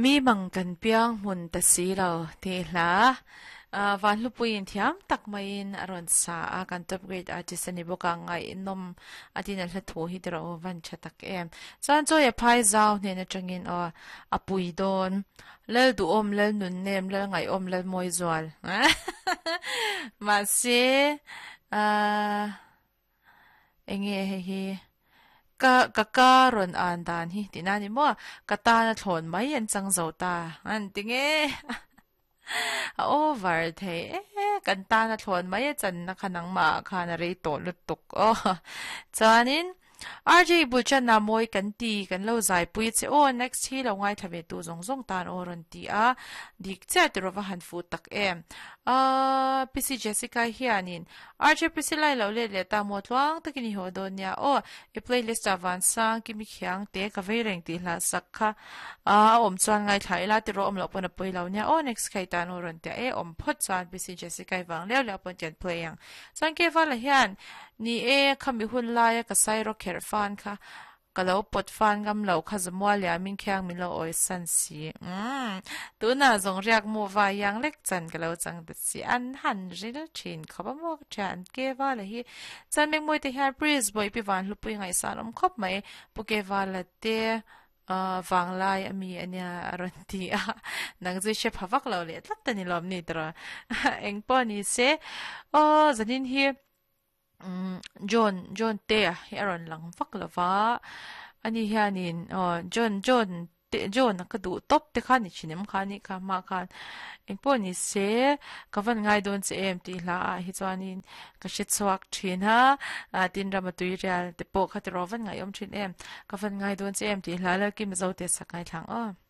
Mi mang kan piang hmun ta si lo tih hla Vanhlupuiin thiam tak maiin a rawn sa a, kan top grade artist a ni bawk a, ngaihnawm a tin a hla thu hi tiraw aw van tha tak em. Chuan chawi a phai zau hnen atangin aw a pui dawn Lal duhawm Lal nunnem Lal ngaihawm Lal mawi zual mahse ahh Enge hei hi ka ka ka rawn an dan hi tih na ni maw ka tan a thlawn mai an chang zo ta an ti nge a over thei e kan tan a thlawn mai a channa kha nangmah ah khan a rei tawh lutuk aw chuanin RJ bul channa mawi kan ti kan lo zaipui che aw next hi lo ngaithla ve tu zawng zawng tan aw rawn ti a dik chiah tiraw va han fuh tak em aaa PC Jessica hianin RJ Priscilla i lo let leh ta maw tluang takin i haw dawn nia aw i playlist ah vansang kimi khiang te ka vei reng tih hla sak kha a awm chuan ngaithla ila tiraw awm loh pawn a pawi lo nia aw next kha i tan aw rawn ti a e awm phawt chuan PC Jessica i vang leu leu pawn tian play ang chuan Kevala hian Ni e, khami hun laia ka sairaw kherh fan kha ka lo pawt fan ngam lo kha Zamua liamin khiang min lo awi san si. Umm, tunah zawng riak mu vai iang lek chan ka lo chang ta si. An han ril thin khawp a maw ka ṭhia an ke vala hi. Chuan Mengmawii te hian Priest Bawihpi Vanhlupui ngaihsan awm khawp mai. Pu ke vala te vanglai a mi a nia a rawn ti a, nang chu i hre pha vak lo leh tlat a ni lawm ni tawh. Engpawh ni se, aw zanin hi John John te a hi a rawn lang vak lo va, ani hianin aw John John te John a ka duh tawp te kha ni thin em kha anih kha hma khan engpawh ni se ka van ngai dawn che em tih hla ah hi chuanin ka hre chhuak thin a, tin rama tui rial te pawh kha tiraw van ngaihawm thin em ka van ngai dawn che em tih hla Lalkima Zote sak ngaithla ang aw.